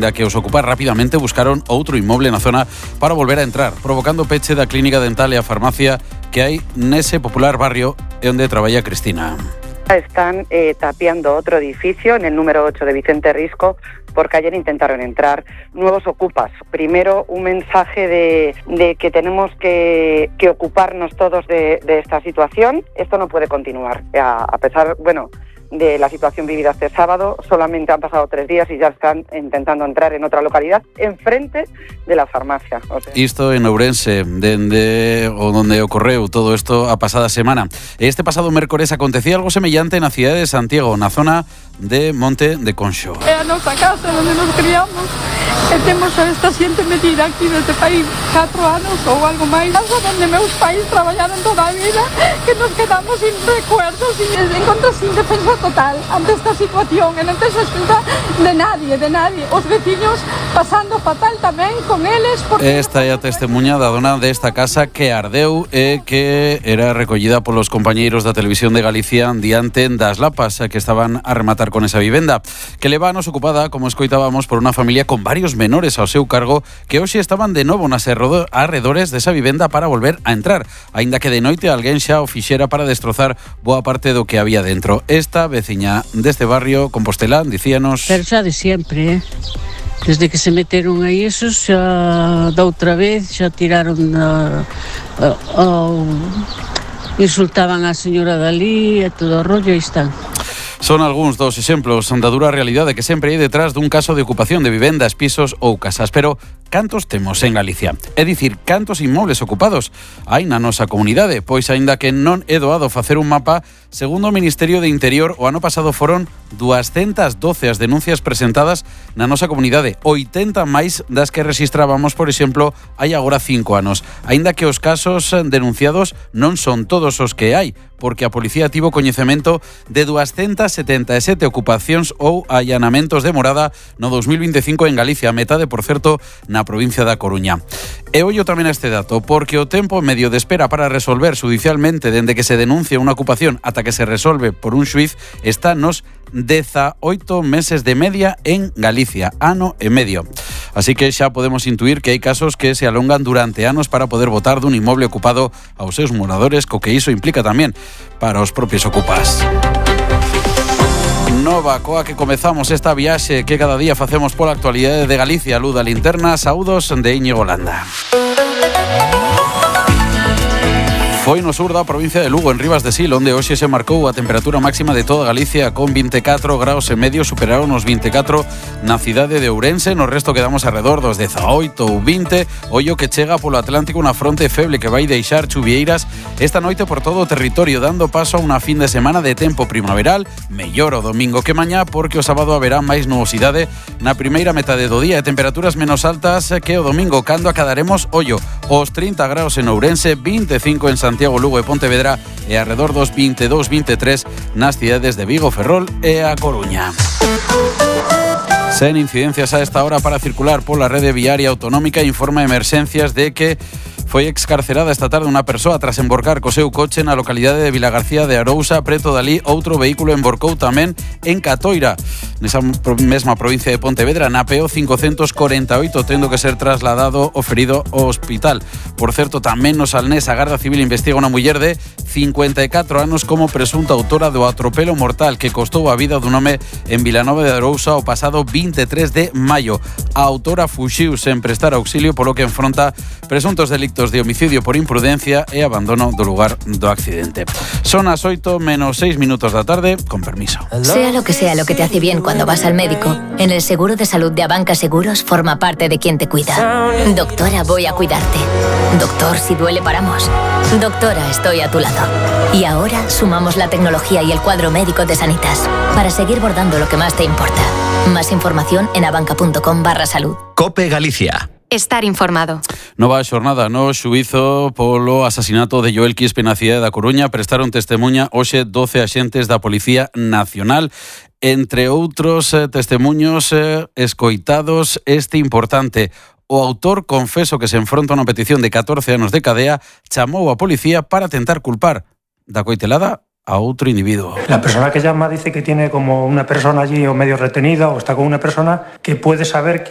aínda que os ocupar rapidamente buscaron outro inmoble na zona para volver a entrar, provocando peche da clínica dental e a farmacia que hai nese popular barrio onde traballa Cristina. Están tapiando otro edificio en el número 8 de Vicente Risco porque ayer intentaron entrar nuevos ocupas. Primero, un mensaje de que tenemos que ocuparnos todos de esta situación. Esto no puede continuar. A pesar, de la situación vivida este sábado, solamente han pasado 3 días y ya están intentando entrar en otra localidad, enfrente de la farmacia. Isto en Ourense, donde ocorreu todo isto a pasada semana. Este pasado mércores acontecía algo semellante na cidade de Santiago, na zona de Monte de Conxo. É a nosa casa onde nos criamos e temos a esta xente metida aquí neste país 4 anos ou algo máis. Casa onde meus pais traballaron toda a vida, que nos quedamos sin recuerdos e encontros sin defensa total ante esta situación e non tes escuta de nadie. Os veciños pasando fatal tamén con eles. Esta é a testemunha da dona desta casa que ardeu e que era recollida polos compañeiros da Televisión de Galicia diante das lapas que estaban a rematar con esa vivenda, que levános ocupada, como escoitábamos, por unha familia con varios menores ao seu cargo que hoxe estaban de novo nas arredores desa vivenda para volver a entrar, aínda que de noite alguén xa o fixera para destrozar boa parte do que había dentro. Esta veciña deste barrio compostelán dicíanos... Pero xa de sempre, desde que se meteron aí esos, xa da outra vez, xa tiraron insultaban a señora Dalí e todo o rollo, aí están. Son algúns dos exemplos da dura realidade que sempre hai detrás dun caso de ocupación de vivendas, pisos ou casas. Pero cantos temos en Galicia? É dicir, cantos inmobles ocupados hai na nosa comunidade? Pois aínda que non é doado facer un mapa, segundo o Ministerio de Interior, o ano pasado foron 212 as denuncias presentadas na nosa comunidade, 80 máis das que rexistrábamos, por exemplo, hai agora 5 anos. Aínda que os casos denunciados non son todos os que hai, porque a policía tivo coñecemento de 277 ocupacións ou allanamentos de morada no 2025 en Galicia, a metade, por certo, na provincia da Coruña. E ollo tamén a este dato, porque o tempo medio de espera para resolver judicialmente dende que se denuncia unha ocupación ata que se resolve por un xuiz está nos 18 meses de media en Galicia, ano e medio. Así que xa podemos intuir que hai casos que se alongan durante anos para poder botar dun inmoble ocupado aos seus moradores, co que iso implica tamén para os propios ocupas. Nova coa que comezamos esta viaxe que cada día facemos pola actualidade de Galicia. Luz da Linterna, saúdos de Íñigo Landa. Foi no sur da provincia de Lugo, en Rivas de Sil, onde hoxe se marcou a temperatura máxima de toda Galicia con 24 graus e medio, superaron os 24 na cidade de Ourense. No resto quedamos alrededor dos 18 ou 20. Ollo que chega polo Atlántico unha fronte feble que vai deixar chuvieiras esta noite por todo o territorio, dando paso a unha fin de semana de tempo primaveral, mellor o domingo que mañá, porque o sábado haberá máis nubosidade na primeira metade do día e temperaturas menos altas que o domingo, cando acadaremos, ollo, os 30 graus en Ourense, 25 en Santiago, Lugo e Pontevedra e alrededor dos 22-23 nas cidades de Vigo, Ferrol e A Coruña. Sen incidencias a esta hora para circular pola rede viaria autonómica, informa emerxencias de que foi excarcerada esta tarde unha persoa tras emborcar co seu coche na localidade de Vilagarcía de Arousa. Preto dali, outro vehículo emborcou tamén en Catoira, nesa mesma provincia de Pontevedra, na PO 548, tendo que ser trasladado o ferido ao hospital. Por certo, tamén no Salnés, a Garda Civil investiga unha muller de 54 anos como presunta autora do atropelo mortal que costou a vida dun home en Vilanova de Arousa o pasado 23 de maio. A autora fuxiu sen prestar auxilio, polo que enfronta presuntos delictos de homicidio por imprudencia e abandono do lugar do accidente. Son as 8 menos 6 minutos da tarde, con permiso. Sea lo que te hace bien cuando vas al médico, en el seguro de salud de Abanca Seguros forma parte de quien te cuida. Doctora, voy a cuidarte. Doctor, si duele paramos. Doctora, estoy a tu lado. Y ahora sumamos la tecnología y el cuadro médico de Sanitas para seguir bordando lo que más te importa. Más información en abanca.com/salud. COPE Galicia. Estar informado. Nova xornada no xuízo polo asasinato de Joel Quispe na cidade da Coruña. Prestaron testemunha hoxe 12 axentes da Policía Nacional. Entre outros testemuños escoitados, este importante: o autor confeso que se enfronta a unha petición de 14 anos de cadea, chamou a policía para tentar culpar da coitelada a otro individuo. La persona que llama dice que tiene como una persona allí o medio retenida o está con una persona que puede saber que